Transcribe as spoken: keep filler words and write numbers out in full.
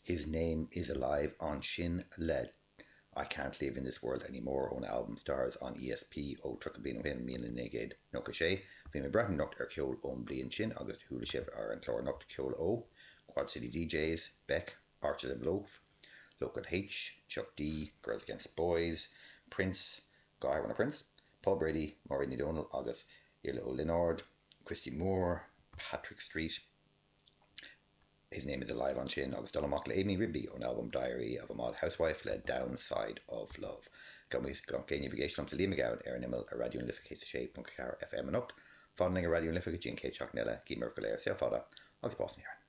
His Name is Alive ansin le I Can't Live in This World Anymore ón albam Stars on ESP ó tríocha bliain ó shin míle naoi gcéad nócha sé. Bhí mé ag breathnú anocht ar cheol ón bliain sin agus chuala sibh ar an chlár anocht ceol ó, Quad City DJs, Beck, Archers of Loaf, Local H, Chuck D, Girls Against Boys, Prince, Guy Warner Prince, Paul Brady, Máiréad Ní Dhomhnaill agus Iarla Ó Lionáird, Christy Moore, Patrick Street, His Name is Alive ansin agus dul amach le Amy Rigby ón album Diary of a Mod Housewife le Downside of Love. Gan navigation sa Liam Gabhann ar an imeall ar Raidió na Life céad sé ponc ceathair FM anocht, Fan linn ar Raidió na Life go dtí an chéad seachtain eile, guím oraibh go léir saol fada agus bás na hÉireann.